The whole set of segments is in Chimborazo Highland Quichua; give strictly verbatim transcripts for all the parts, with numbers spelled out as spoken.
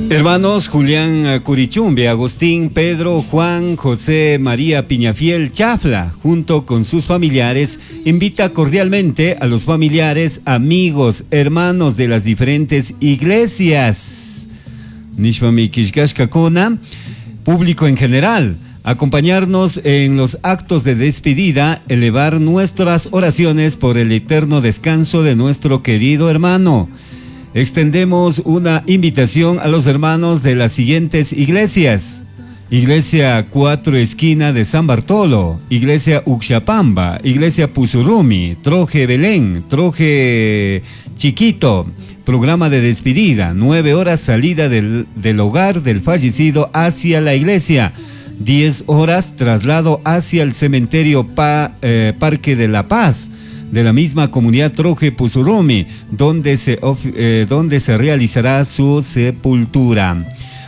Hermanos Julián Curichumbe, Agustín, Pedro, Juan, José María Piñafiel Chafla, junto con sus familiares, invita cordialmente a los familiares, amigos, hermanos de las diferentes iglesias. Nishpami killkashkakuna, público en general, acompañarnos en los actos de despedida, elevar nuestras oraciones por el eterno descanso de nuestro querido hermano. Extendemos una invitación a los hermanos de las siguientes iglesias. Iglesia Cuatro Esquina de San Bartolo, Iglesia Uxapamba, Iglesia Pusurumi, Troje Belén, Troje Chiquito. Programa de despedida, nueve horas salida del, del hogar del fallecido hacia la iglesia. Diez horas traslado hacia el cementerio pa, eh, Parque de la Paz de la misma comunidad Troje Pusurumi, donde se, eh, donde se realizará su sepultura.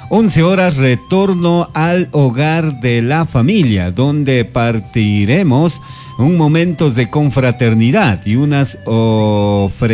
once horas retorno al hogar de la familia, donde partiremos un momentos de confraternidad y unas ofrecerán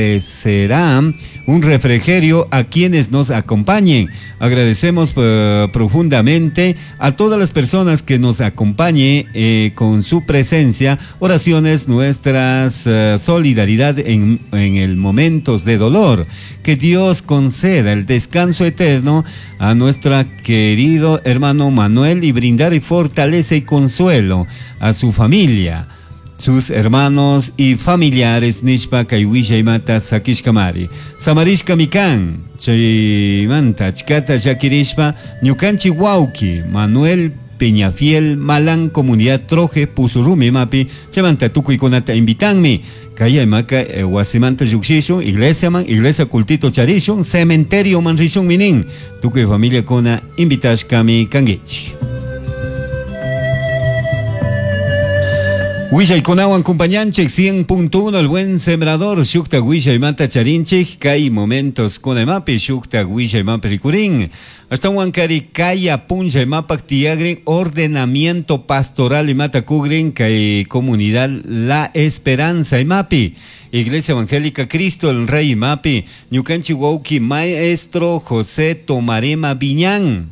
un refrigerio a quienes nos acompañen. Agradecemos eh, profundamente a todas las personas que nos acompañen eh, con su presencia, oraciones, nuestras eh, solidaridad en, en el momentos de dolor. Que Dios conceda el descanso eterno a nuestro querido hermano Manuel y brindar y fortaleza y consuelo a su familia, sus hermanos y familiares nishpa kay willaymata sakishkamari. Samarishka mikan, chaymanta achkata llakirishpa ñukanchik wawki Manuel Peñafiel Malán, comunidad Troje, Pusurumi mapi, chaymanta tukuykunata invitanmi. Kay imaka eh, wasimanta llukshishun, iglesia man, iglesia cultito charishun, cementerio man rishun minin, tukuy familia kuna invitashkami kankichik. Willaykunawan kumpañanchik cien punto uno El Buen Sembrador, shukta willaymanta charinchik, kay momentos kunaymapi shukta willaymapi rikurin. Ashtawan kari kaya punllaymapak tiyagrin ordenamiento pastoral imata kugrin kay comunidad La Esperanza imapi. Iglesia Evangélica Cristo el Rey imapi, ñukanchik wawki maestro José Tomarema Viñán.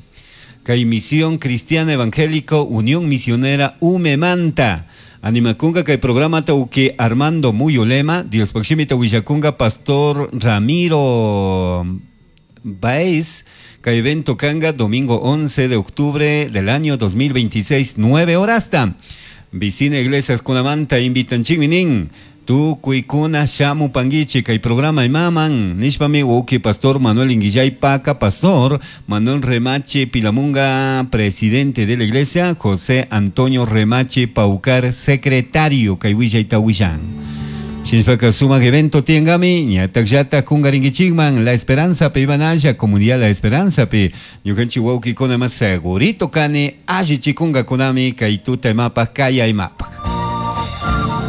Kay Misión Cristiana Evangélico Unión Misionera Umemanta. Animakunga kay programa tauki Armando Muyolema, Dios Paximita Willakunga, Pastor Ramiro Baez, kay evento kanga, domingo once de octubre del año dos mil veintiséis, nueve horas ta. Vicina Iglesias Kunamanta, invitan chiminin. Tukuykuna shamu panguichi kay programa imaman nishpami wawki Pastor Manuel Inguillay Paca, Pastor Manuel Remache Pilamunga, presidente de la iglesia, José Antonio Remache Paucar, secretario kay willayta willan. Shinshpaka sumak evento tiangami, ñatak llata kungaringichikman, La Esperanza pe ibanaya, comunidad La Esperanza pe, ñukanchik wawki kuna más segurito kani, alli chikunga kunami, kay tuta imapa, kaya imapa.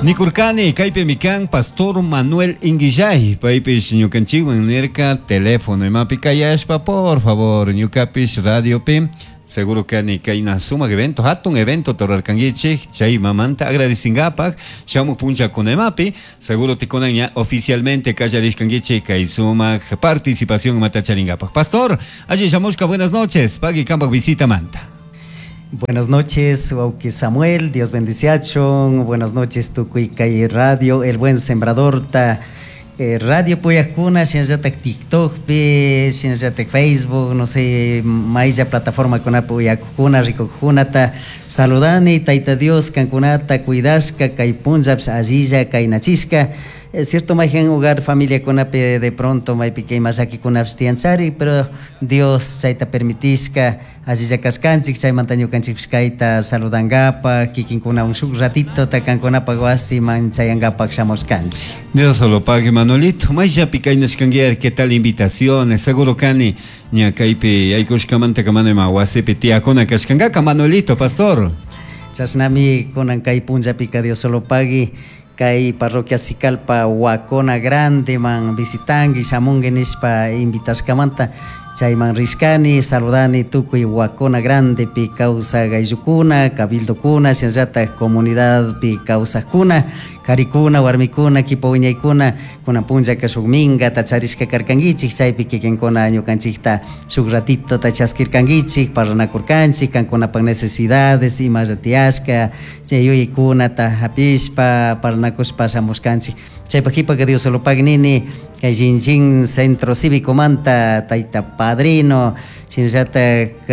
Nikurkani, kaypi mikan, Pastor Manuel Inguillay, paypish ñukanchikwan nirka, teléfono imapi kayashpa, por favor, ñukapish radiopi, seguro kani kayna sumak evento, hatun evento torarkanguichik, chay mamanta agradecingapaj, shamuj punchakuna imapi, seguro tikunan ña oficialmente kallarishkanguichik kay sumak participación matacharingapaj. Pastor, allí shamushka, buenas noches, pagui kampak visita manta. Buenas noches, wawki Samuel, Dios bendiciachon. Buenas noches, tukuy kay Radio, El Buen Sembrador, ta, eh, Radio Puyakuna, shinallatak TikTok, pi, shinallatak Facebook, no sé, maylla plataforma kuna puyakuna, rikukuna, ta, saludani, taita Dios, kankunata, cuidashka, kay punllapsh, allilla, kay nachishka. Es cierto, mayhan hogar familia kunapi de pronto maypi kay masaki kunapis tiyanchari, pero Dios chayta permitishka, allilla kashkanchik, chaymanta ñukanchikpish kayta saludangapa, kikinkunawan shuk ratito ta kankunapaq wasiman chayangapak shamushkanchik. Dios solo pague, Manolito. Mayllapi kaynashkanguiar, ¿qué tal invitaciones? Seguro kani, ña kaypi yaykushkamanta kamana ima wasipi tiyakuna kashkankaka, Manolito, pastor. Chashnami kunan kay punllapika Dios solo pague. Kay parroquia Sicalpa Huacona Grande man visitangi shamungi nishpa invitashkamanta. Chayman rishkani, saludani tukuy Huacona Grandepi kawsaq ayllukuna, cabildokuna, shinallatak comunidadpi kawsaqkuna, karikuna, warmikuna, kipa wiñaykuna, kunan punllaka shuk minkata charishka karkankichik, chaypi kikinkuna ñukanchikta shuk ratitota chaskirkankichik, parlanakurkanchik, kankunapak necesidades, imalla tiyashka, chay yuyaykunata hapishpa, parlanakushpa shamushkanchik. Chaypak kipaka Diosolopak nini, kay Shinjin Centro Cívico manta tayta padrino, shinallatak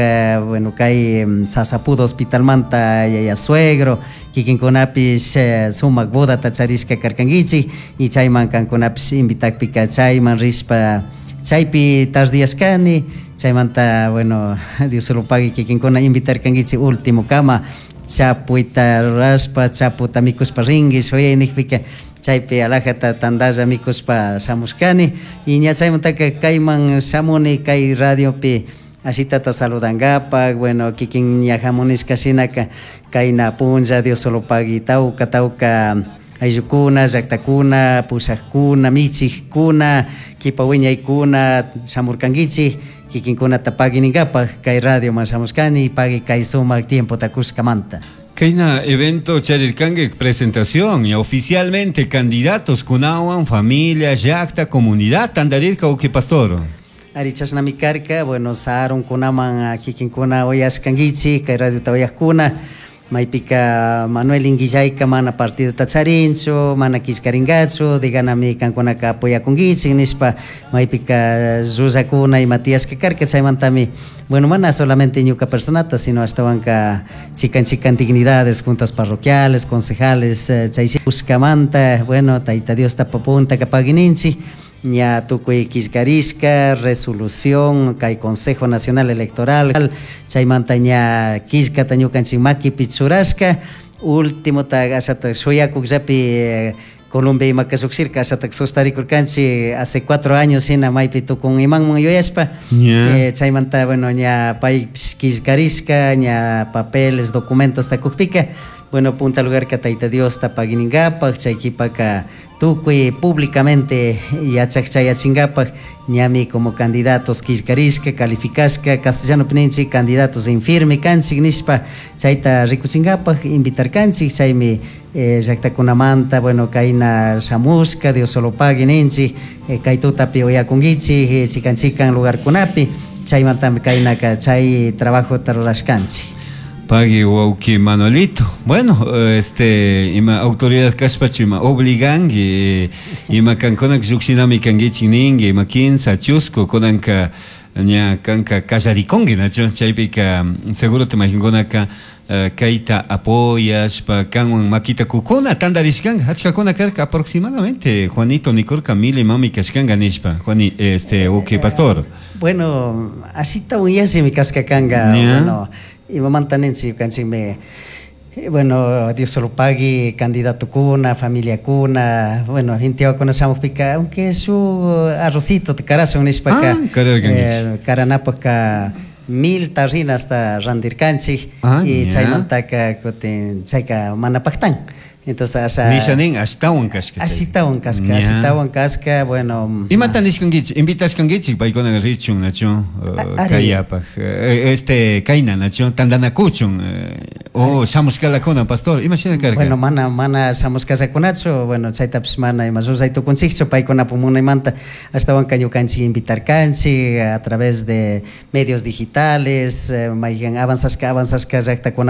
bueno, kay Sasapudo Hospitalmanta yaya suegro, kikinkunapish sumak bodata charishka karkankichik, y chayman kankunapish invitakpika chayman rishpa chaypi tardiyashkani, chaymanta bueno, Diosolopagui kikinkuna invitarkankichik último kama chapuyta rurashpa, chaputa mikushpa rinki shuyay nikpika chaypi alajata tandalla mikushpa shamushkani, y ña chaymantaka kayman shamuni kay radiopi ashitata saludangapak, bueno, kikin ña hamunishka shinaka kayna punlla Diosolopagui tawka tawka ayllukuna, llaktakuna, pushakuna, michikkuna, kipa wiñaykuna shamurkankichik, kikinkunata paguininkapak kay radioman shamushkani, pagui kay sumak tiempota kushkamanta. Kayna evento charirkanki presentación y oficialmente candidatos kunawan, familia, llakta, comunidad, tandarirka uki pastor. Ari chashnami karka, bueno, sarun kunaman kikinkuna uyashkankichik, kay radiota uyajkuna, maypika Manuel Inguillayka mana partidota charinchu, mana killkarinkachu, diganami kankunaka apoyakunkichik nishpa, maypika llullakuna ima tiyashka karka, chaymantami, bueno, mana solamente ñuka personata, sino ashtawanka chikan chikan dignidades, juntas parroquiales, concejales, chay ushkamanta, bueno, Tayta Diosta puntaka paguininchik, ña tukuy killkarishka, resolución, kay Consejo Nacional Electoral, chaymanta ña killkata ñukanchik makipi churashka, último ta ashata shuyakukllapi Colombia imaka llukshirka, ashatak sustarikurkanchik hace cuatro años shina maypi tukun imanman yuyashpa, Yeah. eh, chaymanta, bueno, ña paypish killkarishka, ña papeles, documentos takukpika, bueno, punta lugarka Tayta Diosta paguininkapak, chay kipaka tukuy públicamente yachak chayachinkapak, ñami como candidatos killkarishka, calificashka, castellano ninchik candidatos en firme kanchik nishpa, chayta rikuchinkapak invitarkanchik, chaymi eh, llaktakunamanta, bueno, kayna shamushka, Diosolopagui ninchik, eh, kay tutapi uyakunkichik, eh, chikan chikan lugarkunapi, chaymantami kaynaka chay trabajota rurashkanchik. Pagui wawki Manuelito. Bueno, este, ima autoridad kashpachu ima obliganki, ima kankunak llukshinami kankichik ninki, ima kinsa chusku kunanka ña kanka kallarikunki, nachu chaypika seguro te imaginkunaka kayta apoyashpa kanwan makita kukuna tandarishkanka achkakuna karka aproximadamente Juanito nikurka mil imami kashkanka nishpa Juani, este, uki pastor. Bueno, ashita yallimi kashka kanka, Yeah. bueno, imamanta ninchik ñukanchikmi, bueno, Diosolopagui, candidatokuna, familiakuna, bueno, intiwakuna shamukpika, aunque shuk arrocito te karashun nishpaka, Ah, kararkankichik. eh, karanapaka mil tarrinasta randirkanchik, Ah, y ya. chaymantaka kutin chayka mana paktan. Entonces, asha Nisha nin ashtawan kashka. chay. Ashitawan kashka, Ya. ashitawan kashka, bueno. Imata nishkankichik, invitashkankichik paykuna richun, nachu, uh, Ari. kayapaj, eh, este, kayna, nachu, tandanakuchun, eh, o shamushkalakuna, pastor, ima shina karka? Bueno, mana, mana shamushkallakunachu, bueno, chaytapish mana ima ruray tukunchikchu, paykunapu munaymanta ashtawanka ñukanchik invitarkanchik a través de medios digitales, eh, mayhan avanzashka, avanzashka llaktakuna